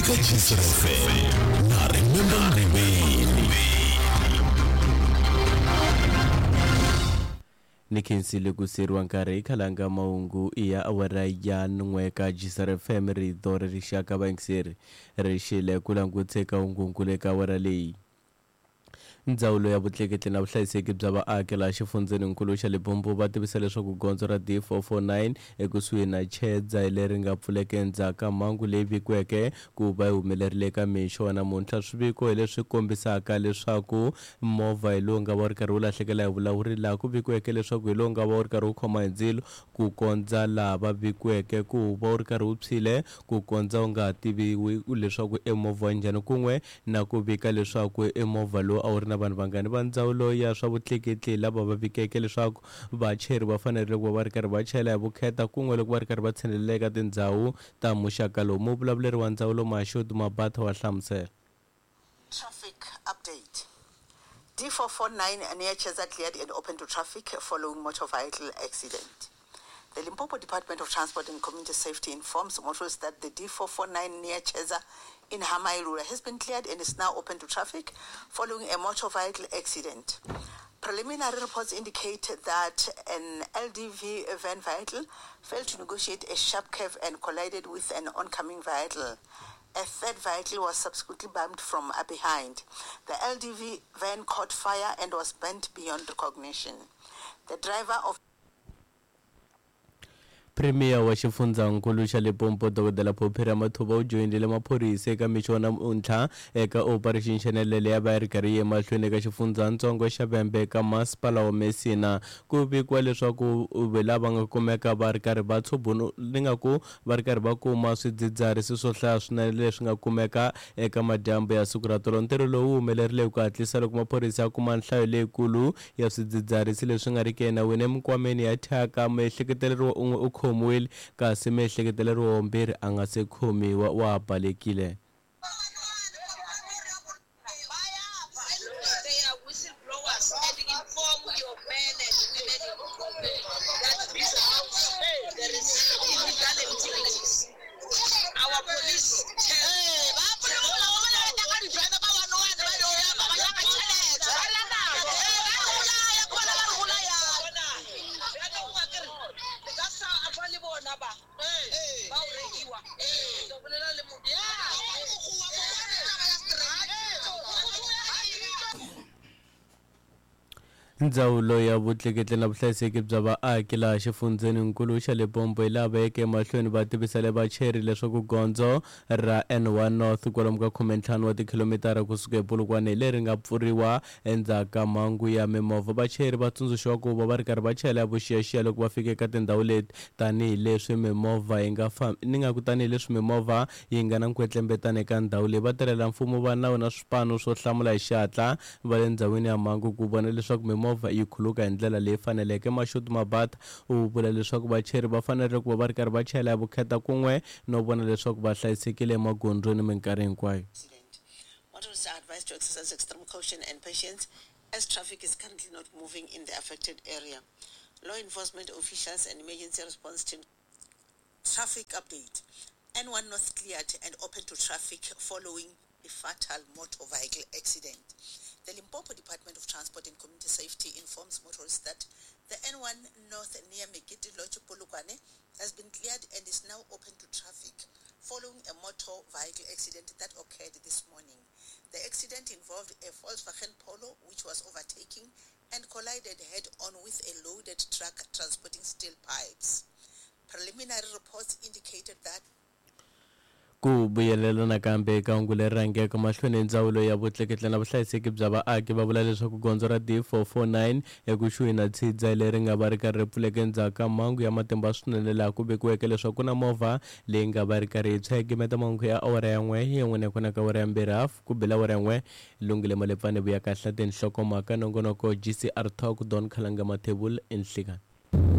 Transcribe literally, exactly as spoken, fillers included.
Eka G C F M na Remember Ngqibeni. Ni khensile ku seriwa nkarhi hi khalanga mahungu ya awara ya n'we ka G C R F M, rito ra rixaka. Vayingiseri ri xile ku languteka hungunkulu eka awara leyi. Ndzawulo ya vutleketli na vuhlayiseki bya vaaki laha xifundzeninkulu xa Limpopo va tivisa leswaku gondzo ra D four four nine ekusuhi na Chedza leri nga pfuleka endzhaku ka mhangu leyi vikiweke ku va yi humelerile eka mixo wa namuntlha. Swiviko hi leswi kombisaka leswaku movha hi lowu nga va wu ri karhi wu lahlekela hi vulawuri, laha ku vikiweke leswaku hi lowu nga va wu ri karhi wu khoma hi ndzilo ku kondza laha va vikiweke ku va wu ri karhi wu tshwile, ku kondza wu nga ha tiviwi leswaku i movha wa njhani, kun'we na ku vika leswaku i movha lowu a wu ri na vanhu vangani. Va ndzawulo ya swa vutleketli lava va vikeke leswaku vachayeri va fanerile ku va va ri karhi va chayela hi vukheta, kun'we loko va ri karhi va tshinelela eka tindhawu ta muxaka lowu. Muvulavuleri wa ndzawulo Mashudu Mabatha wa hlamusela. Traffic update. D four four nine near Cheza cleared and open to traffic following motor vehicle accident. The Limpopo Department of Transport and Community Safety informs motorists that the D four four nine near Cheza in Hamailura has been cleared and is now open to traffic following a motor vehicle accident. Preliminary reports indicate that an L D V van vehicle failed to negotiate a sharp curve and collided with an oncoming vehicle. A third vehicle was subsequently bumped from behind. The L D V van caught fire and was burnt beyond recognition. The driver of Premier wa xifundzankulu xa Limpopo, Dokodela Phophi Ramathuba, u joyinile maphorisa eka mixo wa namuntlha eka Operation Shenelele ya va yi ri karhi yi emahlweni eka xifundzatsongo xa Vhembe eka masipala wa Messina. Ku vikiwa leswaku lava nga kumeka va ri karhi va tshubunu ni nga ku va ri karhi va kuma swidzidziharisi swo hlaya swinene leswi nga kumeka eka madyambu ya siku ra tolo. Ntirho lowu wu humelerile hi ku hatlisa loko maphorisa ya kuma nhlayo leyikulu ya swidzidziharisi leswi nga riki enawini eminkwameni ya thyaka. Miehleketeleriwa un'we u khomiwile, kasi miehleketeleriwa wambirhi a nga se khomiwa, wa ha balekile. They are whistleblowers and inform your men and women in government that this house there is illegal activities. Our police tell Ndzawulo ya vutleketli na vuhlayiseki bya vaaki laha xifundzeninkulu xa Limpopo hi lava yeke emahlweni va tivisele vachayeri leswaku gondzo ra N one North kwalomu ka khumentlhanu wa tikhilomitara kusuka ePolokwane hi leri nga pfuriwa endzhaku ka mhangu ya mimovha. Vachayeri va tsundzuxiwa ku va va ri karhi va chayela vuxiyaxiya loko va fika eka tindhawu leti, tanihileswi mimovha yi nga fambi ni nga ku tanihileswi mimovha yi nga na nkwetlembetano eka ndhawu leyi. Vatirhela mfumo va nawu na swipano swo hlamula hi xihatla va le ndhawini ya mhangu ku vona leswaku mimovha yi khuluka hi ndlela leyi faneleke. Mashudu Mabatha u vula leswaku vachayeri va fanerile ku va va ri karhi va chayela hi vukheta, kun'we no vona leswaku va hlayisekile emagondzweni minkarhi hinkwayo. Accident. Motorists are advised to exercise extreme caution and patience as traffic is currently not moving in the affected area. Law enforcement officials and emergency response team. Traffic update. N one North cleared and open to traffic following a fatal motor vehicle accident. The Limpopo Department of Transport and Community Safety informs motorists that the N one North near Megidi Lodge, Polokwane has been cleared and is now open to traffic following a motor vehicle accident that occurred this morning. The accident involved a Volkswagen Polo which was overtaking and collided head-on with a loaded truck transporting steel pipes. Preliminary reports indicated that Ku vuyelela nakambe eka hungu leri rhangeke mahlweni, ndzawulo ya vutleketli na vuhlayiseki bya vaaki va vula leswaku gondzo ra D four four nine ekusuhi na Tshidza leri nga va ri karhi ri pfuleka endzhaku ka mhangu ya matimba swinene, laha ku vekiweke leswaku ku na movha leyi nga va ri karhi yi tshwa. Gimeta mahungu ya awara ya n'we yin'we na kona ka awara ya mbirhi hafu ku bela awara ya n'we. Lungile Malepfane vuya kahle tinhlokomhaka nongonoko G C R Talk Don Khalanga Mathebula enhlikani.